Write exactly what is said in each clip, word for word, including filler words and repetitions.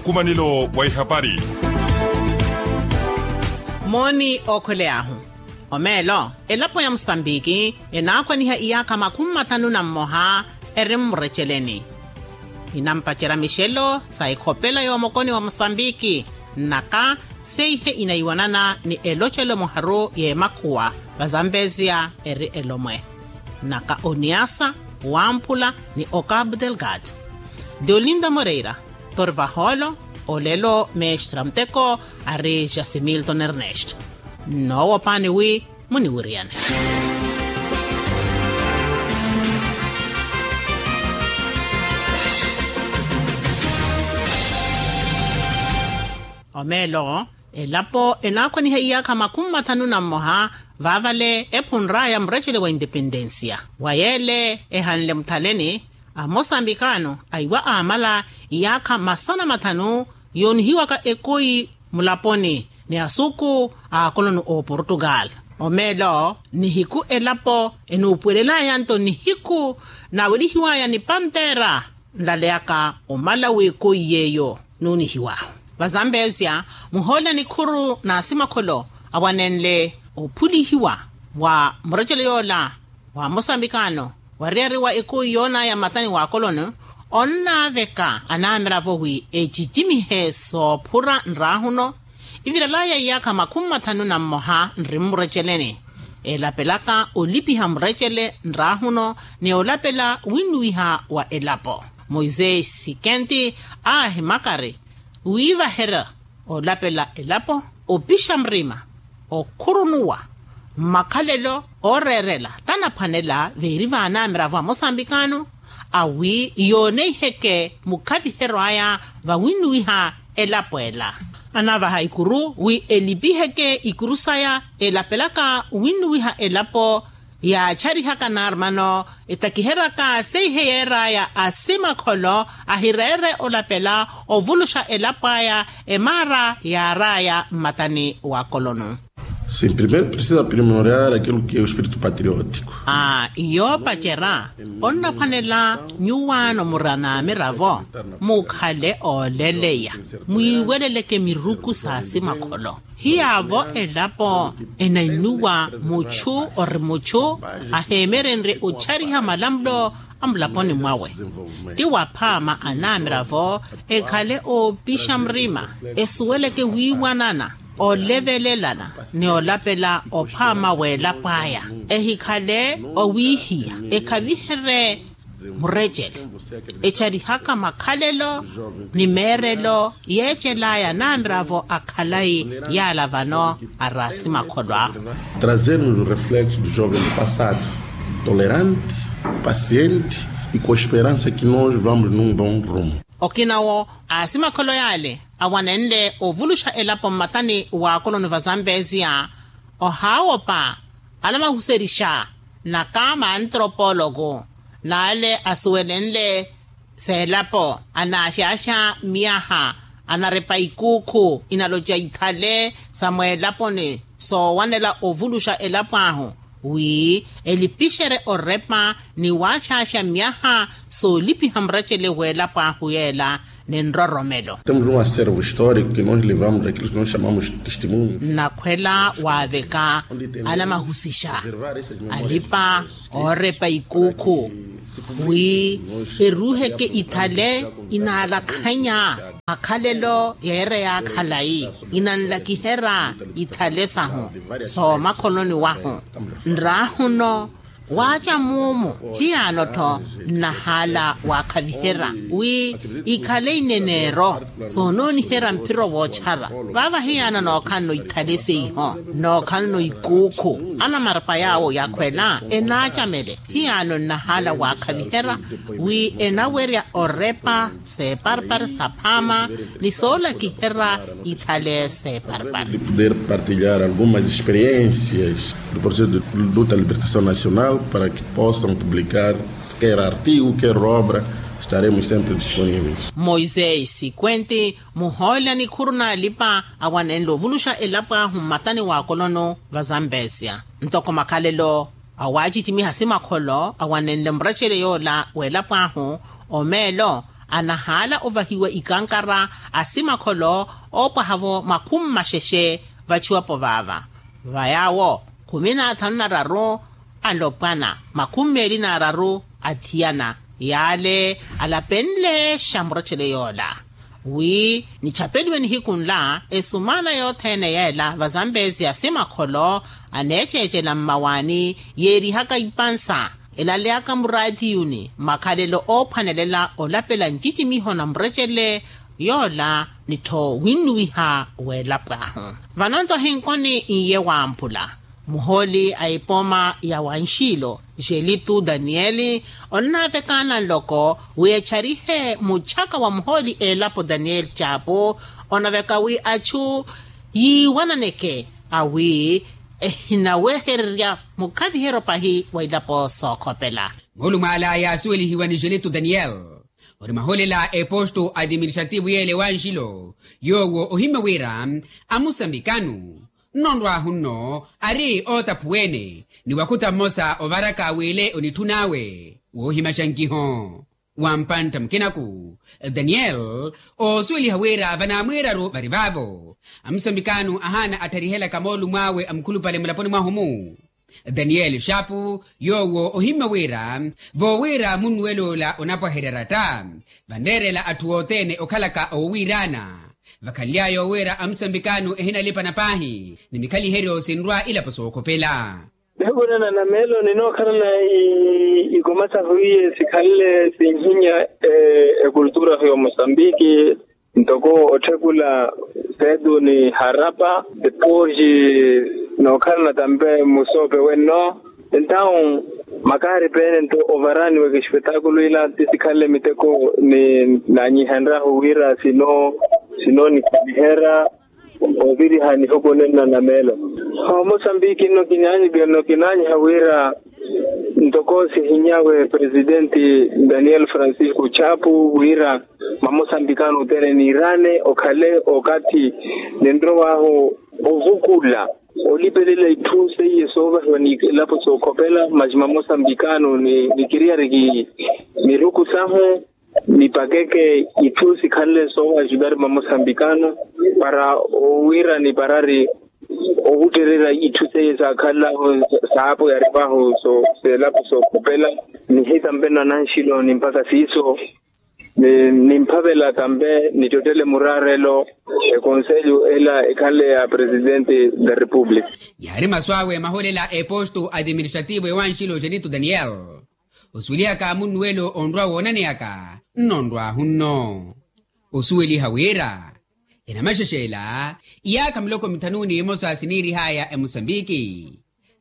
Nkumanelo wa ihapari. Mooni ookhweley'ahu. Omeelo, elapo ya musambiki enaakhwaniha iyaakha makhumi mathanu na mmoha eri mmureceleni. Inampacerya mixelo sa ikhopela y'omokoni wa musambiki, nnaka seihe inaiwanana ni elocelo muharu y'emakhuwa va zambeziya eri elomwe, nnaka oniasa, wamphula, ni okabu delgado. Deolinda moreira, torvaholo, olelo mestra muteko ari jasimilton ernesto. Nnoowopaani wi muniwiriyane. Omeelo, elapo enaakhwaniha iyaakha makhumi mathanu na mmoha, vaavale ephunr'aya murecele wa independensiya. Wa yeele ehanle muthaleni, amosambikano aiwa aamala iyaakha masana mathanu yoonihiwaka ekoyi mulaponi ni asuku a akoloni a oportugal. Omeelo, nihiku elapo enuupuwelelaya nto nihiku naawelihiwaya ni pantera nlaleyaka omala w'ekoyi yeeyo nuunihiwahu. Vazambezia, muhoolya nikhuru n'asimakholo awanenle ophulihiwa wa murecelo yoola wa mosambikano wariyari wa ekoyi yoonaya mmatani wa akolono, onnaaveka anamiravo wi ecicimihe soophura nraahuno. Ivirelaya iyaakha makhumi mathanu na mmoha nri mmureceleni, elapelaka olipiha murecele nraahuno ni olapela winnuwiha wa elapo. Moisesi kenti aahimakari wiivaherya olapela elapo, opixa murima, okhurunuwa mmakhalelo ooreerela tanaphwanela veeri vaanamiravo a mosambikano, awi yooneiheke mukhaviheryo aya vawinnuwiha elapo ela. Anavaha ikuru wi elipiheke ikuru saya elapelaka winnuwiha elapo yaacharihaka naarumano etakiheryaka seihe yeeraya asimakholo ahireere olapela ovuluxa elapo aya emaara yaaraya mmatani wa kolono. Sim primeiro precisa primordiar aquilo que é o espírito patriótico. Aa iyoopacerya onnaphwanela nyuwaano muri anaamiravo mukhale ooleleya mwiiweleleke miruku sa asimakholo. Hiyaavo elapo enannuwa muchu ori muchu aheemerenrye ochariha malamulo a mulaponi mwawe. Ti waphaama anamiravo ekhale oopixa murima esuweleke wiiwanana olevelelana ni olapela ophaama w'elapo aya ehikhale owiihiya ekhaviherye murecele echarihaka makhalelo ni meerelo yeecelaya namiravo a khalayi yaala vano ari asimakholo ahu. Trazermos o reflexo do jovem do passado tolerante, paciente e com esperança que nos vamos num bom rumo. Okina wo asimakholo yaale awanenle ovuluxa elapo mmatani wa akolono va zambesia ohaawopa alamahuserisha naka maantropologo naale asuwelenle seelapo anaafyaafya miyaha anarepa ikuukhu inaloca ithale sa mweelaponi soowanela ovuluxa elapo ahu wi elipixerye orepa ni waafyaafya miyaha soolipiha murecele w'elapo ahu yeela ni nroromelo. Temos um acervo histórico que nos levamos daquilo que nos chamamos testemunho. Nnakhwela waaveka anamahusixa alipa oorepa ikuukhu wi eruuheke ithale inaalakhanya makhalelo yeereya khalayi inanlakiherya ithale sahu soomakhononi wahu nraahuno. Waaca muumu hiyaano-tho nnahaala waakhaviherya wi ikhale ineneero soonooniherya mphiro woochara vaava hiyaano nookhalano ithale seiho nookhalano ikuukhu anamarepa yaawo yakhwela enaacamele hiyaano nnahaala waakhaviherya wi enawerya orepa seeparpari saphaama ni soolakiherya ithale seeparpari. Poder partilhar algumas experiências do processo de luta libertação nacional para que possam publicar quer artigo quer obra. Estaremos sempre disponíveis. Moisés sikwenti muhoolya nikhuru naalipa awanenle ovuluxa elapo ahu mmatani wa kolono va zambesia ntoko makhalelo awaacicimiha simakholo awanenle murecele yoola w'elapo ahu omeelo anahaala ovahiwa ikankara a simakholo oopwaha-vo makhumi maxexe vachiwapo vaava. Va yaawo khumi n'athanu n'araru alopwana, makhumi meeli n'araru athiyana. Yaale alapenle xamurechele yoola wi nichapeliwe nihiku nla esumaana yothene yeela va zambezi ya simakholo aneeceecela mmawaani yeerihaka ipansa elaleyaka muraatiyuni makhalelo oophwanelela olapela ncicimiho na murechele yoola nittho winnuwiha weelapwaahu. Vano nto hinkoni iye wamphula muhooli a epoma ya wanxiilo jelitu daniyeli onnaavekaana nloko wi echarihe muchaka wa muhooli eelapo daniyeli chapu onaveka wi achu yiiwananeke awi ehinawehererya mukhaviheryo pahi wa ilapo sookhopela. Moolumo ala yaasuwelihiwa ni jelitu daniyeli ori mahoolela a eposto adiministrativu yeele wanxilo yoowo ohimmya wira amusambikanu nnonrwahu nno ari ootaphuwene ni wakhuta mmosa ovaraka wile onitthun'awe woohimaxa nkiho wa mpantta mukinaku. Daniyeli oosuweliha wira vanaamwiiraru vari vaavo amusambikanu ahaana attharihelaka moolumo awe amukhulupale mulaponi mwahu-mu. Daniyeli xaapu yoowo ohimmya wira voowira munnuwel'ola onapwaherya ratta vanreerela atthu othene okhalaka owiiraana vakhanly'aya owiira amusambikanu ehinalipana paahi ni mikhaliheryo sinrwa ilapo sookhopela. Nihikuneena nameelo ninookhalana ikoma sahu iye sikhanle sinhinya ekultura ya omosambiki ntoko otthekula feetu ni harapa. Epooxi nookhalana tampe musoope wenno entawu makaari peene nto ovaraniwa ekespetakulu ila ti sikhanle miteko ni naanyihenrahu wira sino sino nikhaliherya oviriha nihukunenna na meelo. Omosambiki nno kinaanyiha wira ntoko sihinyawe presidenti daniel francisco chapu wira mamosambikano othene niirane okhale okathi ninrow'ahu ovukula olipelela itthu seiye soovahiwa ni elapo sookhopela masi mamosambikano nikiriyariki miruku sahu nipakeke itthu sikhanle soowajivari mamosambikano para owira niparari owuttererya itthu seiye saakhanlahu saapo yarivahu seelapo sookhopela nihita mpeno ananxilo ni mpaka siiso nimphavela tampe nittottele muraarelo ekonselho ela ekhanle ya presidente da republica. Yaari masu awe maholela a eposto administrativo ewanxilo janito daniel osuwelihaka munnuwelo onrwa woonaneyaka nnonrwahu nno osuweliha wira enamaxexela iyaakha miloko mithanu n'imosa siniirihaya emosambiki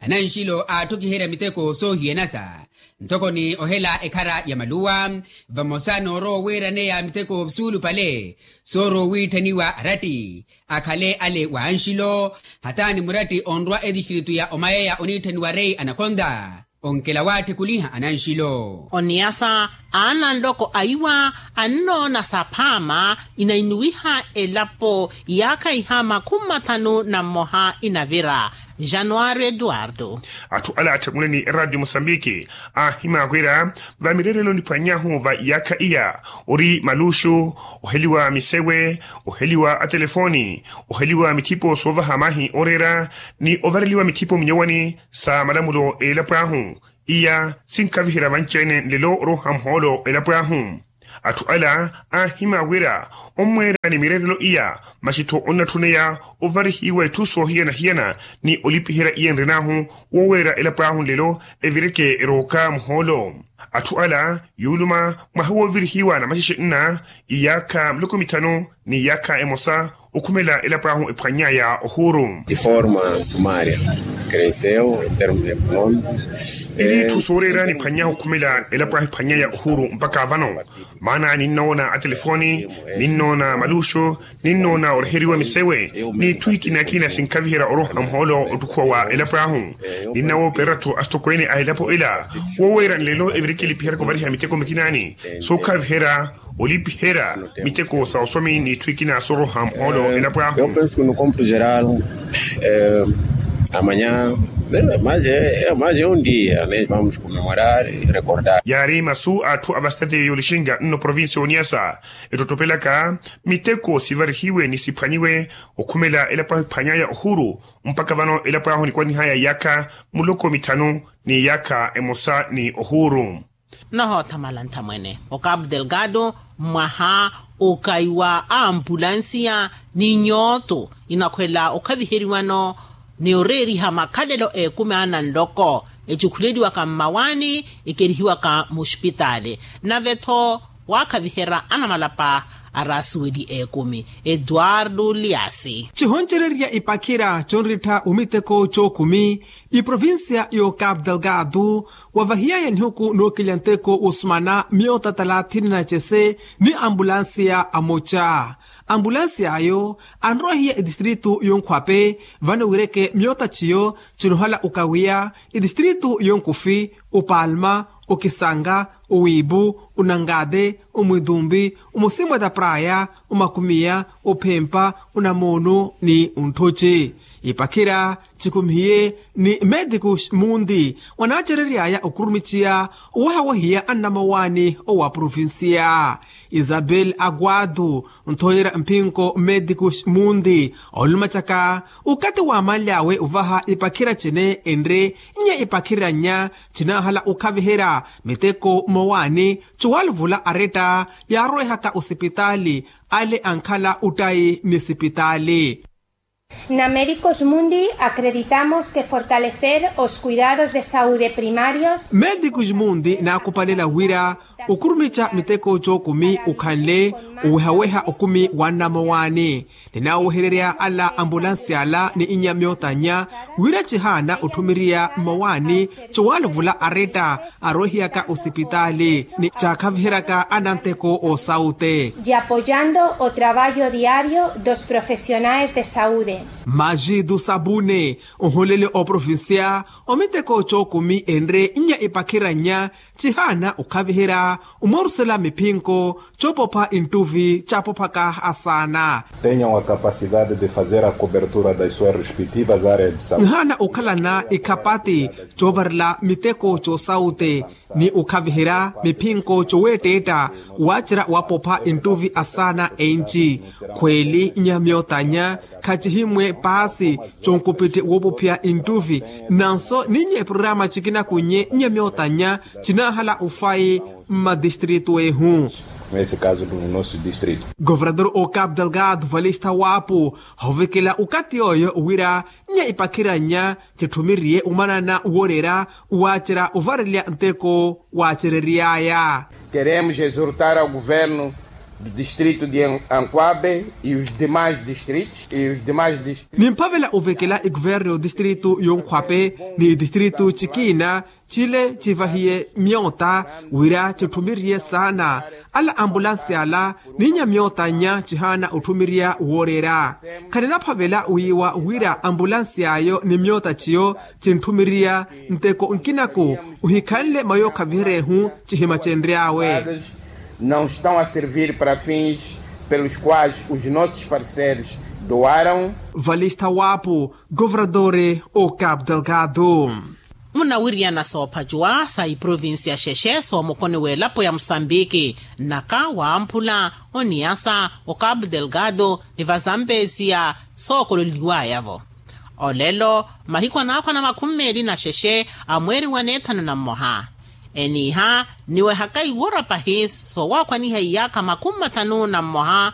ananxilo aatthokiherya miteko soohiyanasa ntoko ni ohela ekhara ya maluwa vamosa noorowa owiiraneya miteko suulupale soorowa owiitthaniwa aratti akhale ale wa anxilo hataani muratti onrwa etistritu ya omayeya oniitthaniwa rei anakonta onkela waatthikuliha ananxilo. Oniyasa aana nloko aiwa annoona saphaama inainuwiha elapo yaakha iha makhumi mathanu na mmoha inavira januari eduardo. Atthu ala atthekule ni eradio mosambiki aahimya wira va mireerelo niphwanyahu va iyaakha iya ori maluxu oheliwa misewe oheliwa atelefoni oheliwa mithipo soovaha maahi ooreera ni ovareliwa mithipo minyowani sa malamulo eelapo ahu iya sinkhaviherya vanci-ene nlelo oroha muhoolo elapo ahu. Atthu ala aahimya wira ommweera ni mireerelo iya masi-tho onnatthuneya ovarihiwa itthu soohiyana-hiyana ni olipiherya iya enren'ahu wooweera elapo ahu nlelo evireke erooka muhoolo. Atthu ala yuuluma mwaha woovirihiwa namaxexe nna iyaakha miloko mithanu ni iyaakha emosa okhumela elapo ahu ephwannyaya ohuuru. De forma sumaria creseu em termos económicos. Iri itthu sooreera niphwannyaha okhumela elapo ahu ephwannyeya ohuuru mpakha vano maana ninnoona atelefoni ninnoona maluxu ninnoona oreheriwa misewe n'itthu ikina-kina sinkhaviherya oroha muhoolo ottukhuwa wa elapo ahu. Ninnawoopera atthu asitokweene a elapo ela wooweera nlelo evireke elipiherya kuvariha miteko mikinaani sookhaviherya olipiherya miteko sa osomi n'itthu ikina sooroha muhoolo elapo ahu. Amanya mazi, mazi ondiya ne vamos comemorar e recordar. Yaari masu a atthu a vastati y'olixinga nno provincia y'oniyasa, ettottopelaka miteko sivarihiwe ni siphwanyiwe okhumela elapo ahu ephwanyaya ohuru. Mpakha vano elapo ahu nikwanihaya iyaakha muloko mithanu ni iyaakha emosa ni ohuru. Nohoothamala nthamwene o cabo delgado, mwaha okaiwa a ampulansiya ni nyooto inakhwela okhaviheriwano ni oreeriha makhalelo ekumi ana nloko, ecukhuleliwaka mmawaani, ekerihiwaka muxupitaali, nave-tho waakhaviherya anamalapa araasuweli ekumi. Eduardo liasi. Cihoncererya ipakhira conrittha omiteko cookumi, iprovincia yo cabo delgado wavahiyaya nihuku nookilya nteko wosumana myoota talathini na cese ni ambulansiya amoca. Ambulansiya ayo anrowahiya etistritu yonkhwape, vano wireke myoota ciyo cinohala okawiya etistritu yonkufi, opalma, okisanga, owiipu, onangate, omwitumpi, omusimweta praya, omakumiya, ophempa, onamoonu ni ontthoci. Ipakhira cikhumihiye ni medikus munti wanaacereryaya okhurumixiya owahawahiya annamowaani owa provincia. Isabel aguado, nthoyera mphinko medikus munti, olumacaka okathi waamanly'awe ovaha ipakhira cene enre nnya ipakhira nnya cinaahala okhaviherya miteko mmowaani. Cowaluvula aretta yaarowehaka osipitaali ale ankhala ottayi ni sipitaali. Na medicus mundi acreditamos ke fortalecer os cuidados de saude primarios. Medicus mundi naakupalela wira okhurumixa miteko cookumi okhanle owehaweha okumi wa nnamowaani. Ninaawehererya ala ambulansi ala ni inya myoota nnya wira cihaana otthumiriya mmowaani cowaluvula aretta arowehiyaka osipitaali ni caakhaviheryaka ananteko oosaute. Y apoyando o traballo diario dos profesionais de saude. Majitu sapune oholele oprovincia omiteko cookumi enre nnya ipakhira nnya cihaana okhaviherya omorusela miphinko coopopha inttuvi caapophaka asaana. Tenham a capacidade de fazer a cobertura das suas respectivas áreas de saúde. Nhaana okhalana ikhapati coovarela miteko coosaute ni okhaviherya miphinko coweetteetta waacerya wapopha inttuvi asaana enci khweeli nnya myoota nnya khacihimwe paasi conkupitthi woopophiya inttuvi. Nanso ninnye programa cikinakunnye nnya myoota nnya cinaahala ofayi mmadistritu ehu. Nesse caso do nosso distrito. Governador o cabo delgado valista wapo hoovekela okathi yooyo wira nnya ipakhira nnya citthumiriye omanana wooreera waacerya ovarelya nteko waacerery'aya. Queremos exortar ao governo do distrito de anquabe e os demais distritos e os demais distritos. Nimphavela ovekela ikuverno distritu yonkhwape ni distritu cikina cile civahiye myoota wira citthumiriye saana ala ambulansi ala ni nnya myoota nnya cihaana otthumiriya wooreera. Khaninaphavela wiiwa wira ambulansi ayo ni myoota ciyo cintthumiriya nteko nkinaku ohikhanle mayookhaviherya ehu cihimacenry'awe. Não estão a servir para fins pelos quais os nossos parceiros doaram. Valista wapo governador o cabo delgado. Munawiriyana soophacuwa sa iprovincia xexe soomukoni w'elapo ya musambiki nnaka wamphula oniyasa o cabo delgado ni vazampesia sookololiwaya-vo. Olelo mahiku anaakhwa na makhumi meeli na xexe a mweeri wa neethanu na mmoha eniiha niwehaka iwora pahi soowakhwaniha iyaakha makhumi mathanu na mmoha.